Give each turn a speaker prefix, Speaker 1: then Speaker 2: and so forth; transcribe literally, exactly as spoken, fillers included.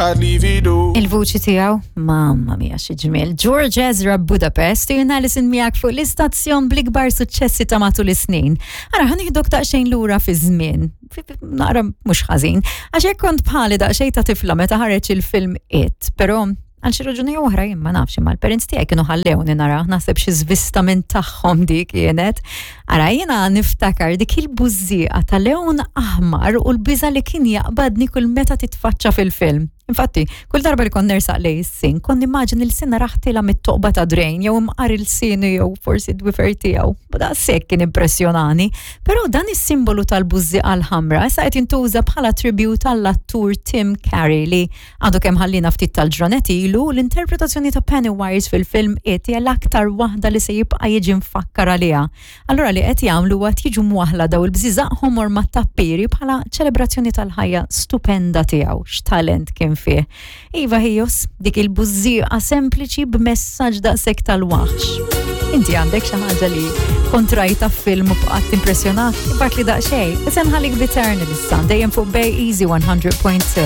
Speaker 1: I'd leave it all.
Speaker 2: Il-vuċi tiegħu, mamma mia xi ġmiel. George Ezra Budapest, jien Alison miegħek fuq l-istazzjon bl-ikbar suċċessi ta' matul is-snin. Ara ħa nieħdok daqsxejn lura fi żmien. Naqra mhux ħażin. Għax hekk kont bħali daqsxejn ta' tifla meta ħareġ il-film It, però għal xi raġuni oħra jien ma nafx imma l-parents tiegħi kienu ħallewni nara, naħseb xi żvista minn tagħhom dik kienet. Ara jiena niftakar dik il-bużżieqa ta' lewn aħmar u l-biża li kien jaqbadni kull meta titfaċċa fil-film. Infatti, kull darba li kont nersaq lejn is-sink, kont nimmaġina lil narah tiela' mit-toqba ta' drain, jew imqar ilsienu jew forsi d-dwiefer tiegħu. Daqshekk kien impressjonani. Però dan is-simbolu tal-bużżieqa l-ħamra issa qed jintuża bħala tribute għall-attur Tim Curry li għadu kemm ħallina ftit tal-ġranet ilu. L-interpretazzjoni ta' Pennywise fil-film It hija l-aktar waħda li se jibqa' jiġi mfakkar għaliha. Allura li qed jagħmlu huwa jiġu mwaħla daw il-bżiżaq ħomor mat-tappiri bħala ċelebrazzjoni tal-ħajja stupenda tiegħu, x'talent kien fih. Iva ħijos, dik il-bużżieqa sempliċi b'messaġġ daqshekk tal-waħx. Inti għandek xi ħaġa li kont rajta film u bqgħet impressjonat, ibgħatli daqsxejn. Issa nħallik b'Eternal issa, dejjem fuq Bay Easy one hundred point two.